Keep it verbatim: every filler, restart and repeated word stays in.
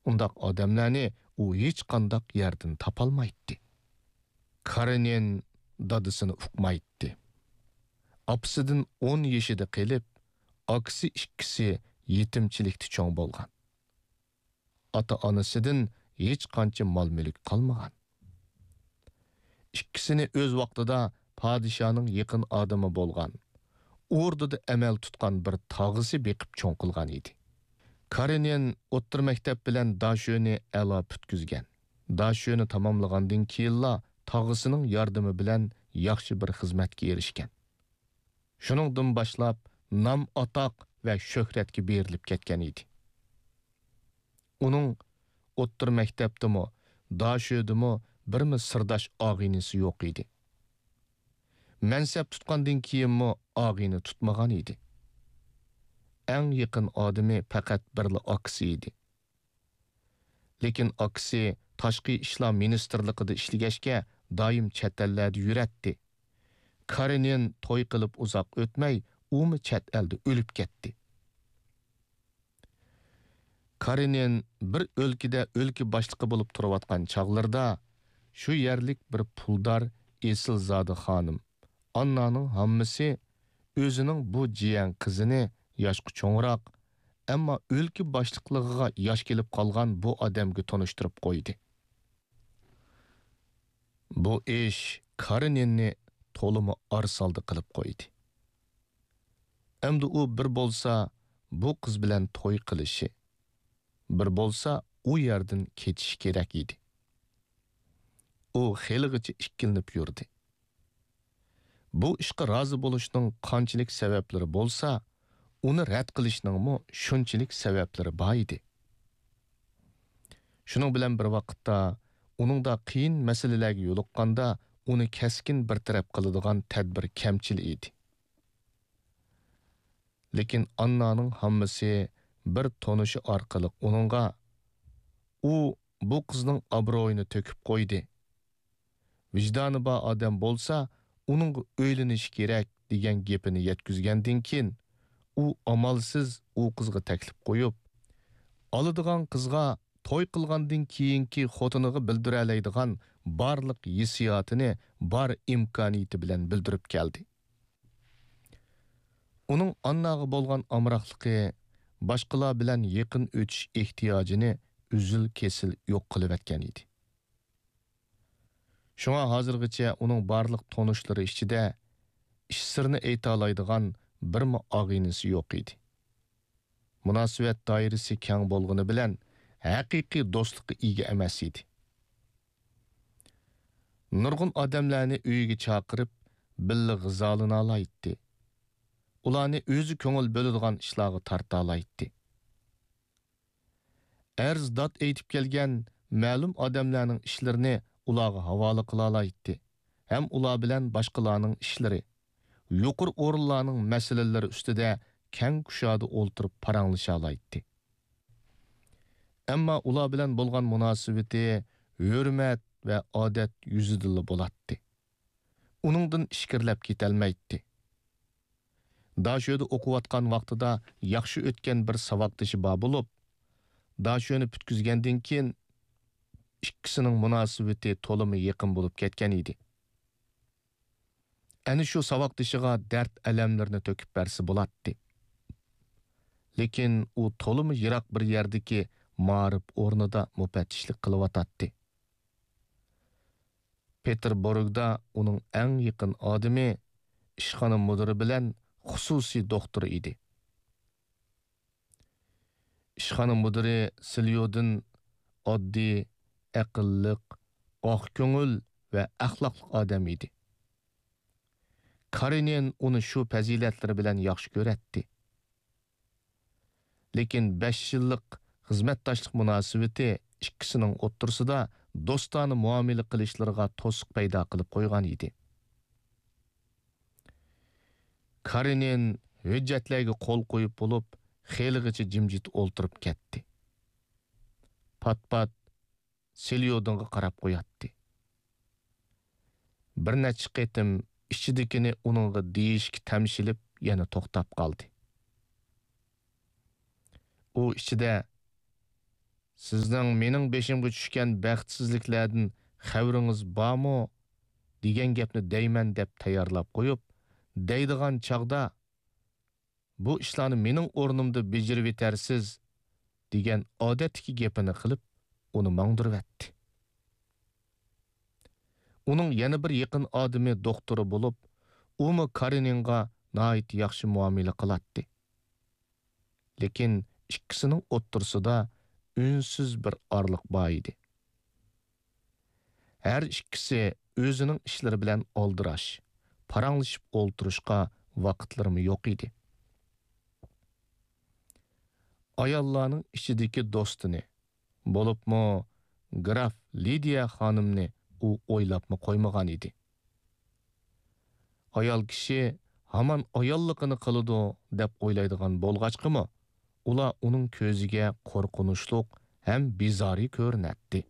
ئۇنداق ئادەملەرنى ئۇ ھېچقانداق يەردىن تاپالمايتتى. كارېنىن دادىسىنى ئۇقمايتتى. ئاپىسىدىن ئون يېشىدا قېلىپ، ئاكىسى ئىككىسى يېتىمچىلىكتە چوڭ بولغان. ئاتا-ئانىسىدىن ھېچقانچە مال-مۈلۈك قالمىغان. ئىككىسىنى ئۆز ۋاقتىدا پادىشاھنىڭ يېقىن ئادىمى بولغان، ئوردىدا ئەمەل تۇتقان بىر تاغىسى بېقىپ چوڭ قىلغان ئىدى. كارېنىن ئوتتۇرا مەكتەپ بىلەن داشۆنى ئەلا پۈتكۈزگەن. داشۆنى تاماملىغاندىن كېيىنلا تاغىسىنىڭ ياردىمى بىلەن ياخشى بىر خىزمەتكە ئېرىشكەن. شۇنىڭدىن باشلاپ نام-ئاتاق ۋە شۆھرەتكە بېرىلىپ كەتكەن ئىدى. ئۇنىڭ ئوتتۇرا مەكتەپتىمۇ، داشۆدىمۇ بىرمۇ سىرداش ئاغىنىسى يوق ئىدى. مەنسەپ تۇتقاندىن كېيىنمۇ ئاغىنە تۇتمىغان ئىدى. ئەڭ يېقىن ئادىمى پەقەت بىرلا ئاكىسى ئىدى. لېكىن ئاكىسى تاشقى ئىشلار مىنىستىرلىقىدا ئىشلىگەچكە، دائىم چەت ئەللەردە يۈرەتتى. كارېنىن توي قىلىپ ئۇزاق ئۆتمەي، ئۇمۇ چەت ئەلدە ئۆلۈپ كەتتى. كارېنىن بىر ئۆلكىدە ئۆلكە باشلىقى بولۇپ تۇرۇۋاتقان چاغلىرىدا، شۇ يەرلىك بىر پۇلدار ئېسىلزادە خانىم، ئاننانىڭ ھاممىسى، ئۆزىنىڭ بۇ جىيەن قىزىنى ياشقا چوڭراق، ئەمما ئۆلكە باشلىقلىقىغا ياش كېلىپ قالغان بۇ ئادەمگە تونۇشتۇرۇپ قويدى. بۇ ئىش كارېنىننى تولىمۇ ئارىسالدى قىلىپ قويدى. ئەمدى ئۇ بىر بولسا بۇ قىز بىلەن توي قىلىشى، بىر بولسا ئۇ يەردىن كېتىشى كېرەك ئىدى. ئۇ خېلىغىچە ئىككىلىنىپ يۈردى. بۇ ئىشقا رازى بولۇشنىڭ قانچىلىك سەۋەبلىرى بولسا، ئۇنى رەت قىلىشنىڭمۇ شۇنچىلىك سەۋەبلىرى بار ئىدى. شۇنىڭ بىلەن بىر ۋاقىتتا، ئۇنىڭدا قىيىن مەسىلىلەرگە يولۇققاندا، ئۇنى كەسكىن بىر تەرەپ قىلىدىغان تەدبىر كەمچىل ئىدى. لېكىن ئاننانىڭ ھاممىسى بىر تونۇشى ئارقىلىق ئۇنىڭغا، «ئۇ بۇ قىزنىڭ ئابرۇيىنى تۆكۈپ قويدى. ۋىجدانى بار ئادەم بولسا، ئۇنىڭغا ئۆيلىنىشى كېرەك» دېگەن گېپىنى يەتكۈزگەندىن كېيىن، ئۇ ئامالسىز ئۇ قىزغا تەكلىپ قويۇپ، ئالىدىغان قىزغا توي قىلغاندىن كېيىنكى خوتۇنىغا بىلدۈرەلەيدىغان بارلىق ھېسسىياتىنى بار ئىمكانىيىتى بىلەن بىلدۈرۈپ كەلدى. ئۇنىڭ ئانناغا بولغان ئامراقلىقى، باشقىلار بىلەن يېقىن ئۆتۈش ئېھتىياجىنى ئۈزۈل-كېسىل يوق قىلىۋەتكەن ئىدى. شۇڭا ھازىرغىچە ئۇنىڭ بارلىق تونۇشلىرى ئىچىدە ئىچ سىرىنى ئېيتالايدىغان بىرمۇ ئاغىنىسى يوق ئىدى. مۇناسىۋەت دائىرىسى كەڭ بولغىنى بىلەن، ھەقىقىي دوستلۇققا ئىگە ئەمەس ئىدى. نۇرغۇن ئادەملەرنى ئۆيىگە چاقىرىپ، بىللە غىزالىنالايتتى. ئۇلارنى ئۆزى كۆڭۈل بۆلىدىغان ئىشلارغا تارتالايتتى. ئەرز-داد ئېيتىپ كەلگەن مەلۇم ئادەملەرنىڭ ئىشلىرىنى ئۇلارغا ھاۋالە قىلالايتتى ھەم ئۇلار بىلەن باشقىلارنىڭ ئىشلىرى، يۇقىرى ئورۇنلارنىڭ مەسىلىلىرى ئۈستىدە كەڭ كۇشادە ئولتۇرۇپ پاراڭلىشالايتتى. ئەمما ئۇلار بىلەن بولغان مۇناسىۋىتى ھۆرمەت ۋە ئادەت يۈزىدىلا بولاتتى. ئۇنىڭدىن ئىچكىرىلەپ كېتەلمەيتتى. داشۆدە ئوقۇۋاتقان ۋاقتىدا ياخشى ئۆتكەن بىر ساۋاقدىشى بار بولۇپ، داشۆنى پۈتكۈزگەندىن كېيىن، ئىككىسىنىڭ مۇناسىۋىتى تولىمۇ يېقىن بولۇپ كەتكەن ئىدى. ئەنە شۇ ساۋاقدىشىغا دەرد-ئەلەملىرىنى تۆكۈپ بەرسە بولاتتى. لېكىن ئۇ تولىمۇ يىراق بىر يەردىكى مائارىپ ئورنىدا مۇپەتتىشلىك قىلىۋاتاتتى. پېتېربۇرگدا ئۇنىڭ ئەڭ يېقىن ئادىمى ئىشخانا مۇدىرى بىلەن خۇسۇسىي دوختۇر ئىدى. ئىشخانا مۇدىرى سىليودىن ئاددىي، ئەقىللىق، ئاق كۆڭۈل ۋە ئەخلاقلىق ئادەم ئىدى. كارېنىن ئۇنى شۇ پەزىلەتلىرى بىلەن ياخشى كۆرەتتى. لېكىن بەش يىللىق خىزمەتداشلىق مۇناسىۋىتى ئىككىسىنىڭ ئوتتۇرىسىدا دوستانە مۇئامىلە قىلىشلىرىغا توسۇق پەيدا قىلىپ قويغان ئىدى. كارېنىن ھۆججەتلەرگە قول قويۇپ بولۇپ، خېلىغىچە جىمجىت ئولتۇرۇپ كەتتى. پات-پات سېليودىنغا قاراپ قوياتتى. بىر نەچچە قېتىم ئىچىدىكىنى ئۇنىڭغا دېيىشكە تەمشىلىپ، يەنە توختاپ قالدى. ئۇ ئىچىدە، «سىزنىڭ مېنىڭ بېشىمغا چۈشكەن بەختسىزلىكلەردىن خەۋىرىڭىز بارمۇ؟» دېگەن گەپنى دەيمەن دەپ تەييارلاپ قويۇپ، دەيدىغان چاغدا، «بۇ ئىشلارنى مېنىڭ ئورنۇمدا بېجىرىۋېتەرسىز» دېگەن ئادەتتىكى گېپىنى قىلىپ، ئۇنى ماڭدۇرۇۋەتتى. ئۇنىڭ يەنە بىر يېقىن ئادىمى دوختۇرى بولۇپ، ئۇمۇ كارېنىنغا ناھايىتى ياخشى مۇئامىلە قىلاتتى. لېكىن ئىككىسىنىڭ ئوتتۇرىسىدا ئۈنسىز بىر ئارىلىق بار ئىدى. ھەر ئىككىسى ئۆزىنىڭ ئىشلىرى بىلەن ئالدىراش، پاراڭلىشىپ ئولتۇرۇشقا ۋاقىتلىرىمۇ يوق ئىدى. ئاياللارنىڭ ئىچىدىكى دوستىنى، بولۇپمۇ گراف لىدىيە خانىمنى ئۇ ئويلاپمۇ قويمىغان ئىدى. ئايال كىشى ھامان ئاياللىقىنى قىلىدۇ دەپ ئويلايدىغان بولغاچقىمۇ، ئۇلار ئۇنىڭ كۆزىگە قورقۇنچلۇق ھەم بىزارى كۆرۈنەتتى.